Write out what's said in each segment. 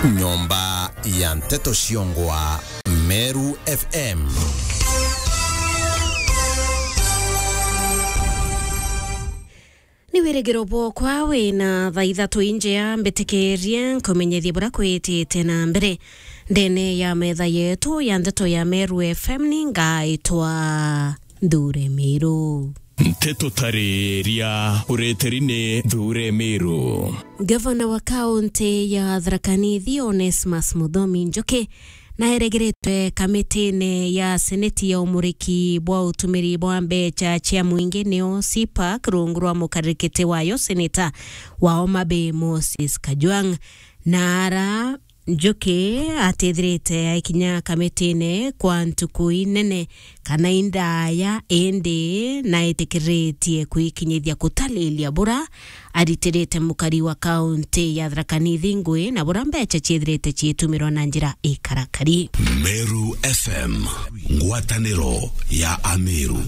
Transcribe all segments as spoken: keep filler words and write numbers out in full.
Nyomba ya nteto ciongwa Meru F M. Ni wirigiro bwokwa wina thaa ithatu injea, mbitikirie nkumenyethie buria kwitite na mbere ndene ya metha yetu ya nteto ya Meru F M. Ni ngaitwa Nthure Miru. Nteto tariria ureteri ni Nthure Miru. Gavana wa kaunti ya Tharaka Nithi, Onesmus Muthomi Njuki, naeregeretwe kamitine ya seneti ya umuriki bwa utumiri bwa mbecha cia mwingi, nio CPAC, rungu rwa mukarikiti wayo seneta wa Homa Bay, Moses Kajwang'. Na ara Njuki atithirite aikinya kamitine kwa ntuku inene kana indaya, indi naitikiritie kwikinyithia kutalilia bura aritirite mukari wa kaunti ya Tharaka Nithi ngui, na bura mbecha ciithirite ciitumirwa na njira ikarakari. Meru F M, ngwataniro ya Ameru.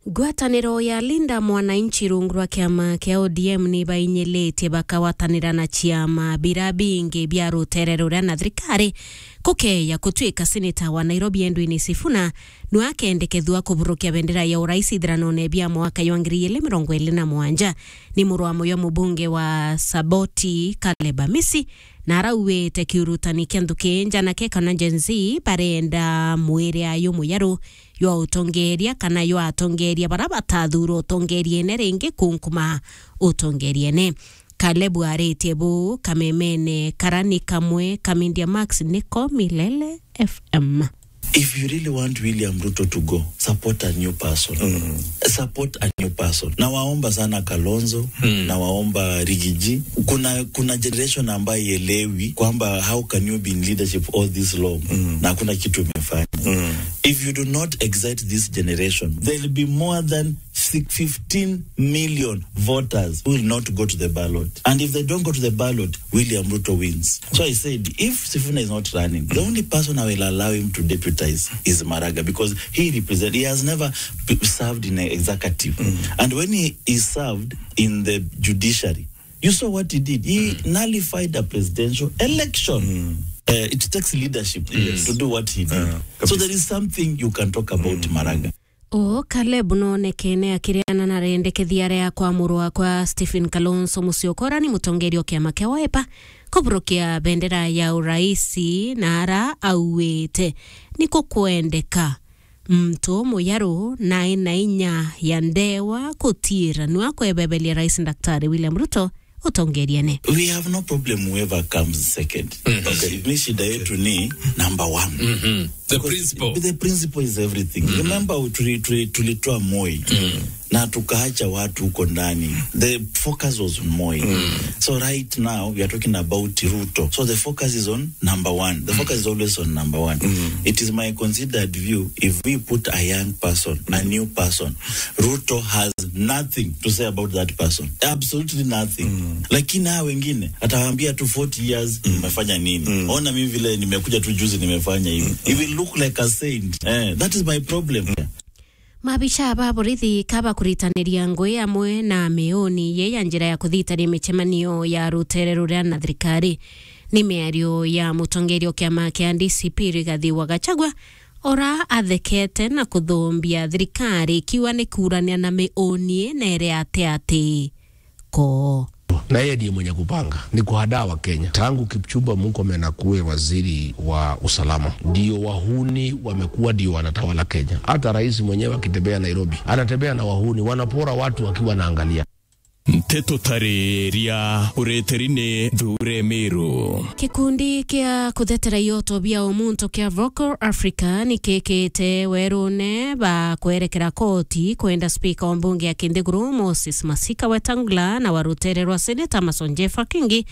Ngwataniro ya Linda Mwananchi rungu rwa kiama kia O D M ni bainyilitie bakagwatanira na ciama bira bingi bia rutere ruria na thirikari kukeya kutuika seneta wa Nairobi Edwin Sifuna nwe akendekethua kuburukia bendera ya urais ithiranone bia mwaka jwa ngiri igiri mirongo iri na mugwanja. Ni muru wa muyo mubunge wa Saboti, Caleb Amisi, na arauite kiurutani kia nthuki njanake kana Gen Z barenda mwiri ayu muyaru jwa utongeria kana jwa atongeria bara batathurwa utongeriene ringi kunkuma utongeriene. Caleb aritie buu kamemene kara ni kamwe ka Media Max niko Milele F M. If you really want William Ruto to go, support a new person. Mm. Support a new person. Nawaomba sana Kalonzo, mm, nawaomba Rigiji. Kuna, kuna generation ambayo ielewi kwamba how can you be in leadership all this long, mm, na hakuna kitu umefanya. Mm. If you do not excite this generation, there'll be more than six, fifteen million voters who will not go to the ballot. And if they don't go to the ballot, William Ruto wins. So I said, if Sifuna is not running, the only person I will allow him to deputize is Maraga, because he represent, he has never p-, served in the executive. Mm. And when he, he served in the judiciary, you saw what he did. He, mm, nullified a presidential election. Mm. Uh, it takes leadership, yes, to do what he did. Uh, so kabisa. There is something you can talk about, mm, Maraga. O Caleb nonekene akiriana na rendekethia ria kwa muru wakwa Stephen Kalonzo Musyoka, uria ni mutongeria o kiama kia Wiper, kuburukia bendera ya uraisi, na ara auite ni kukwendeka muntu muyaru na ena inya ya ndewa kutiira nwa kwebeberia Rais Daktari William Ruto utongeriene. We have no problem whoever comes second. Mhm. Okay. Mi shida yetu ni number one. Mhm. The principle. The principle is everything. Mhm. Remember, tuli-, tuli-, tulitoa Moi. Mhm. Na tukaacha watu huko ndani. The focus was on Moi. Mhm. So right now, we are talking about Ruto. So the focus is on number one. The focus is always on number one. Mhm. It is my considered view, if we put a young person, a new person, Ruto has nothing to say about that person. Absolutely nothing. Mm. Lakini hawa wengine, atawaambia tu forty years, mm, umefanya nini? Mm. Ona mimi vile nimekuja tu juzi nimefanya hivi. Mm. He will look like a saint. Eh, that is my problem. Mm. Maabisa ba borithi ka bakuritaniria ngui amwe na miuni ye ya njira ya kuthitania micemanio ya rutere ruria na thirikari. Ni miario ya mutongeria o kiama kia D C P Rigathi wa Gachagua, ora athekete na kuthumbia thirikari ikiuga ni kuurania na miuni na iri ati ati ko. Na yeye ndiye mwenye kupanga, ni kuhadaa wa Kenya. Tangu Kipchumba Murkomen akuwe waziri wa usalama, ndio wahuni wamekuwa ndio wanatawala Kenya. Hata rais mwenyewe akitembea Nairobi, anatembea na wahuni, wanapora watu akiwa anaangalia. Nteto tariria ureteri ni Nthure Miru. Gikundi kia kuthetera ioto bia umuntu kia Vocal Africa ni kikite werune ba kwerekera koti kwenda spika wa mbunge ya Kinthiguru Moses Masika Wetangula na wa rutere rwa seneta Amason Jeffa Kingi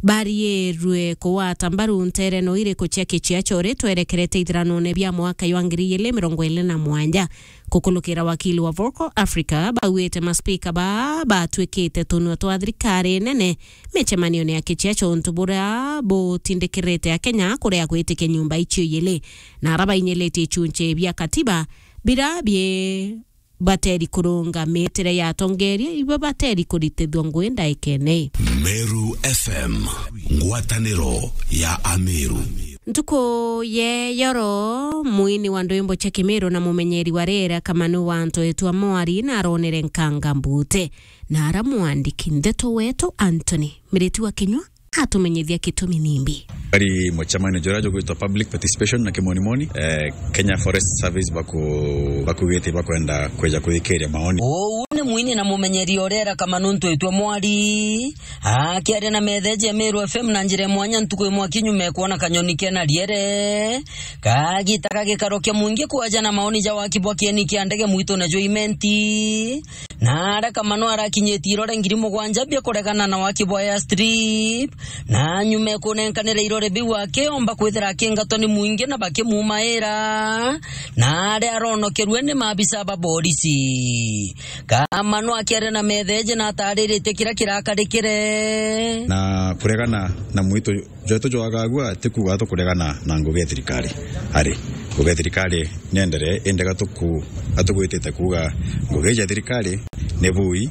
bariirwe kugwata mbaru ntereno iriku cia kiciacho ri twerekerete ithiranone bia mwaka jwa ngiri igiri mirongo iri na mugwanja. Kukulukira wakili wa Vocal Africa, bauite maspika baa batwikite tunua twa thirikari nene micemanione ya kiciacho untu buria butindikirite Akenya kuria gwitikia nyumba icio ijiri, na ara bainyilitie ichunchi bia katiba bira bi bateri kurunga mitire ya atongeria, ibo bateri kuritithua ngui ndaikene. Meru F M, ngwataniro ya Ameru. Ntuku ye yoro, mwini wa ndwimbo cia Kimiru na mumenyeri wa riera Kamanu wa Ntoetwa Mwari na aronere nkanga mbute, na ara mwandiki ndeto wetu Anthony Miriti wa Kinyua atumenyithia gitumi nimbi. Ari mucemanio jura jugwitwa public participation na kimonimoni, eh, Kenya Forest Service baku-, bakugite bakwenda kweja kuthikiria maoni. Uu ni mwini na mumenyeri o riera Kamanu Ntoetwa Mwari akiaria na metheji ya Meru F M na njira ya mwanya ntuku imwe akinyuma kwona kanyoni kena riere kagita kagikarokia mwingi kwaja na maoni ja waki bwa kieni kia ndege mwitune jwa Imenti. Na ara Kamanu arakinyitie irore ngiri mugwanja bia kuregana na waki bwa airstrip, na nyuma ya kunenkanira irore biu akiomba kwithira akingatwa ni mwingi na bakimumaira, na aria aronokerue ni maabisa ba borisi. Kamanu akiaria na metheji na atariritie kiria kirakarikire. Na kuregana na mwitu jwetu jwagagua ti kuuga tukuregana na ngugi ya thirikari. Ari, ngugi ya thirikari nienderee, indi gatuku-, gatugwitite kuuga ngugi ya thirikari ni bui,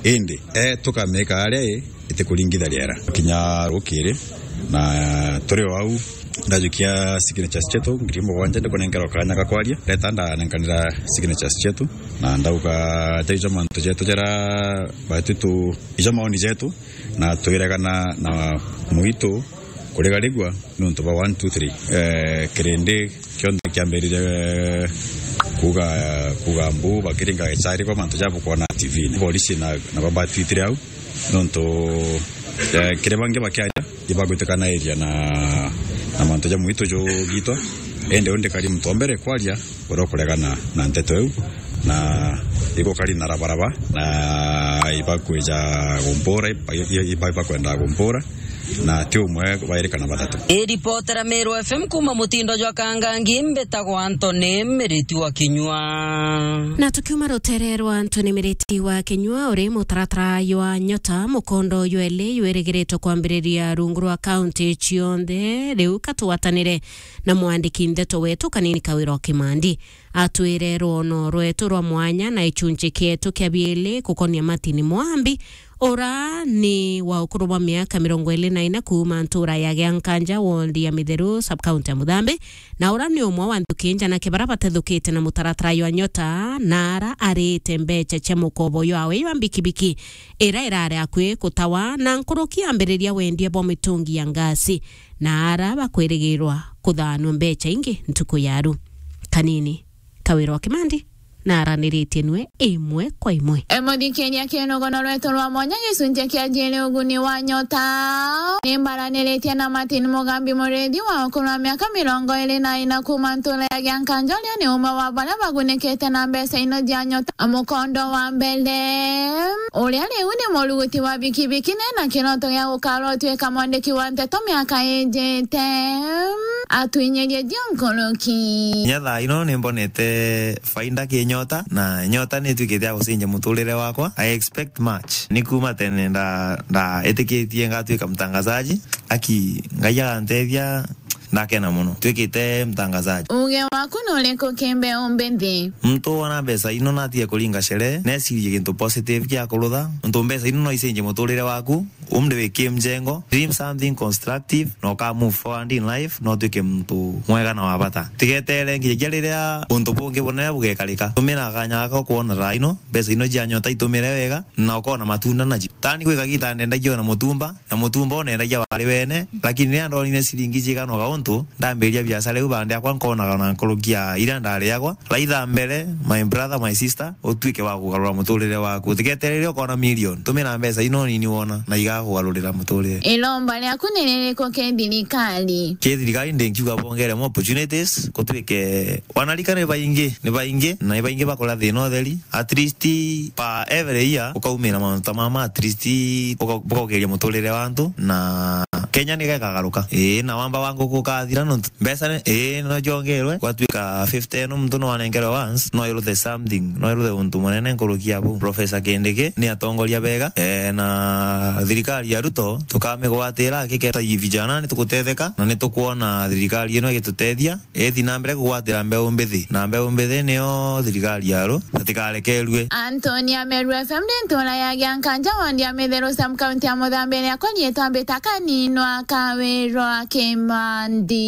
indi, eh, tukamika aria i, itikuringitha riera. Kinya rukiri, na turi o au, ndajukia signatures cietu ngiri mugwanja, ndikunenkerwa kanya ga kwaria. Ndeta ndanenkanira signatures cietu, na ndauga, ja ijo mantu jetu jara batu tu, ijo maoni jetu, na twiregana na mwitu kurigarigua niuntu bwa one, two, three. Eh, kirindi kionthe kiambirire kuuga, kuuga mbu, bakiringa gicari kwa mantu ja bukwona T V-ini. Borisi na, na babatwitire au, niuntu, eh, kiri bangi bakiaria, ibagwitikanairiria na, na mantu ja mwitu jugitwa. Indi undi kari muntu wa mbere kwaria, uria ukuregana na nteto iu, na igukari na rabaraba, na ibakwija gumpura, iba-, iba-, iba-, ibakwenda gumpura, na ti umwe, bairi kana bathatu. Iripotera Meru F M kuuma mutindo jwa Kangangi, mbitagwa Anthony Miriti wa Kinyua. Na tukiuma rutere rwa Anthony Miriti wa Kinyua, uri mutaratara jwa Nyota, mukondo jwa eli jwirigiritwe kwambiriria rungu rwa kaunti cionthe, riu katugwatanire na mwandiki ndeto wetu Kanini Kawira o Kimandi. Atwire rwono rwetu rwa mwanya na ichunchi kietu kia biili gukonia Martin Mwambi, ura ni wa ukuru bwa miaka mirongo iri na ina kuuma ntura ya Giankanja, ward ya Mitheru, sub-county ya Muthambi, na ura ni umwe wa nthuki njana kibara batethukite na mutaratara jwa Nyota, na ara arite mbecha cia mukobo jwawe jwa mbikibiki ira irari akui kutawa, na nkuruki ambiriria wendia bwa mitungi ya ngasi, na ara bakwirigirwa kuthanua mbecha ingi ntuku ya ru. Kanini Kawira o Kimandi na araniritie nwe imwe kwa imwe. E, muthikiria, kinogono rwetu rwa mwanya gicunji kia jiri uguni wa Nyota. Ni mbaraniritie na Martin Mugambi Murithi wa ukuru wa miaka mirongo iri na ina kuuma ntura ya Giankanja, uria ni umwe wa baria bagunikite na mbeca ino cia Nyota. Mukondo wa mbere, uria riu ni muruguti wa bikibiki, nena kiroto gia gukarwa utuika mwandiki wa nteto miaka ijite. Atwinyirie jia nkuruki. Kinya thaa ino ni mbonete faida ki Nyota, na Nyota ni ituikite ya gucenjia muturire wakwa. I expect much. Ni kuuma tene nda-, ndaitikitie ngatwika mtangazaji. Aki, Ngai agantethia, ndakena muno. Twikite mtangazaji. Uge waku ni uriku ki mbeu mbithi? Muntu wona mbeca ino natige kuringa sherehe, necirie gintu positive kia kurutha. Nontu mbeca ino no icenjie muturire waku. Umri wi ki mjengo, dream something constructive, na uka move forward in life, na utuike muntu mwega na wa bata. Tigetere nginyagia riria untu bungi bunene bugekarika. Tumira kanya gaka ukwona thaa ino, mbeca ino cia Nyota itumire wega, na ukona matunda nacio. Tani gwi kagiita ndendagia ona mutumba, na mutumba unendagia wari wene, lakini riria ndonire ciringi ciganoga untu, ndambiriria biacara iu bandi akwa nkonaga na nkuruki ya iria ndariagwa. Raitha mbere, my brother, my sister, utuike wa kugarura muturire waku. Utiketerere ukona million. Tumira mbeca ino nini wona, na igakugarurira muturire. Iromba riaku ni ririku ki thirikari? Ki thirikari ndingiuga bongere more opportunities, gutuike wanarika ni baingi, ni baingi, na ni baingi bakura thina utheri. At least per every year, ukaumira mauntu ta mama, at least uka-, ukaugeria muturire wa antu, na Kenya ni gekagaruka. Ii, na wamba wa nguku athira nontu mbeca ni, ii, no jongerwe, gwatuika fifty ino muntu no anengerwe once, no iruthe something, no iruthe untu munene nkuruki ya buu. Professor Kindiki ni atongoria bega, eh, na thirikari ya Ruto tukamigwatira, akiketa vijana ni tukutetheka, na ni tukwona thirikari ino igitutethia, ithi na mbere kugwatira mbeu mbithi, na mbeu mbithi nio thirikari ya Ruto, na tikarekerue. Anthony Ameru F M ni ntura ya Giankanja, wandi ya Mitheru, sub county ya Muthambiria, akwa nyitwa Mbita Kaninwa Kawirwa Kimandi.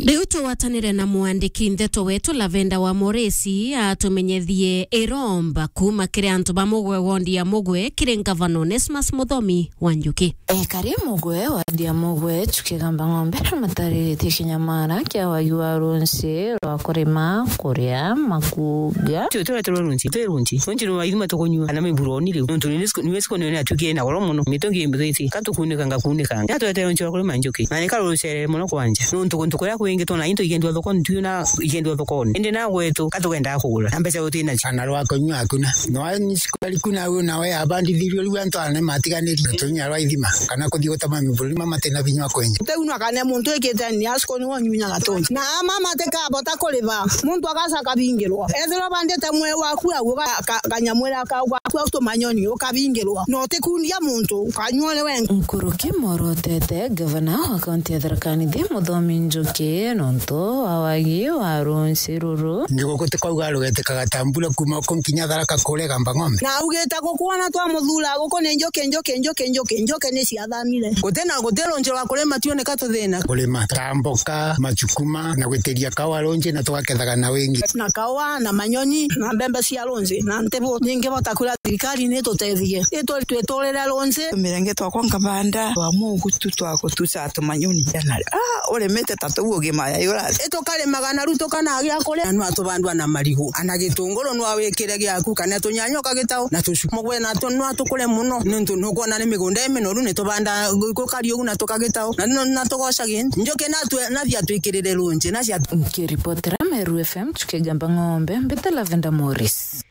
Riu tugwatanire na mwandiki ndeto wetu Lavenda wa Moresi atumenyethie iromba kuma kiri antu ba Mugwe, wondi ya Mugwe, kiri ngavana Onesmus Muthomi wa Njuki. Ekari Mugwe, wandi ya Mugwe, tukigamba ng'ombe, matariritie kinyamara kia wagi wa runsi rwa kurima, kuria, makuga. Tio, tureterwe runsi, twi runsi. Runsi ni waithima tukunyua, kana miburo ni riu. Nontu ni siku, ni siku ni atukie na goro muno. Mitungi mbithiti, ka tukunika ngakunika. Ya tureterwe runsi rwa kurima njuki. Na ni karucerere muno kwanja. Nontu kuntu kuria kwingi twona into ikendwa thokoni, tu na ikendwa thokoni. Indi na gwetu, ka tukenda kugura. Na mbeca utina cio. Kana rwa kunyua hakuna. No ni siku aliku na u na we abandithirio riu antu ane matiganiri. Tunya rwa ithima, kana kuthi gutama miburi, mama tena vinya wa kwenja. Teu no akane muntu ikite ni asiko ni wonyunya gatonji. Na mama tekabota kuriba, muntu akasa kabingirwa. Ethirwa bandite mwe waku au, ka-, ka-, kanyamwira kau gaku au tumanyoni, ukabingirwa. No tikundia muntu, ukanyua ni wenga. Nkuruki morotete, gavana wa kaunti ya Tharaka Nithi, Muthomi Njuki, nontu wa wagi wa runsi ruru. Njuguku tikauga rugetikaga ta mbura kuma uku nkinya Tharaka kurega mba ng'ombe. Na augite guku ona twamuthura guku ni njuki, njuki, njuki, njuki, njuki ni ciathamire. Guti na, guti runji rwa kurima tuoneka tuthina. Kurima ta mboka, macukuma, na gwitiria kawa runji na tugakethaga na wingi. Na kawa, na manyoni, na mbembe cia runji, na ntibu. Ningi bota kura thirikari ni tutethie. Itwe twiturire runji. Mirenge twakwa nkabanda, twa mugu tu twa gutuca tumanyoni. Na, ah, urimite ta tuu ugima ya yura. Itukarimaga na riu tukanagia kuria, na nwa tubandwa na marigu. Ana gitunguru nwa wikire giaku, kana tunyanya ukagitao, na tucu. Mugwe na tu-, nwa tukure muno, nontu nukwona ni migunda iminoru, ni tubanda gukari ugu na tukagitao, na, na, na tugoca gintu. Njuki na twe-, na thia twikirire runji, na cia. Nkiripotera Meru F M, tukigamba ng'ombe, mbite Lavenda Morris.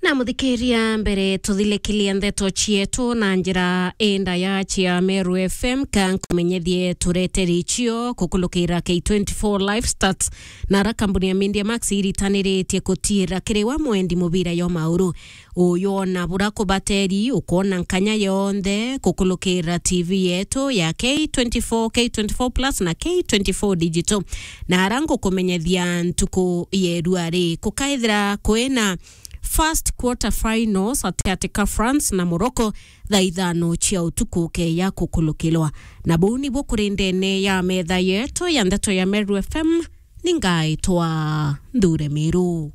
Na muthikiria, mbere tuthilikilia ndeto cietu na njira indaya cia Meru F M, ka nkumenyethie tureteri cio kukulukira K twenty-four Live Stats, na ara kambuni ya Media Max iritaniritie kutiira kiri we mwendi mubira yo mauru. Uyu ona bura kubateri, ukwona nkanya yonthe kukulukira T V yetu ya K twenty-four, K twenty-four Plus na K twenty-four Digital. Na ara ngukumenyethia ntuku yerua ri, kukaithira kwina first quarter finals atigati ka France na Morocco thaa ithano cia utuku keya kukulukirwa. Na buu nibu kuri ndene ya metha yetu ya ndeto ya Meru F M, ni ngaitwa Nthure Miru.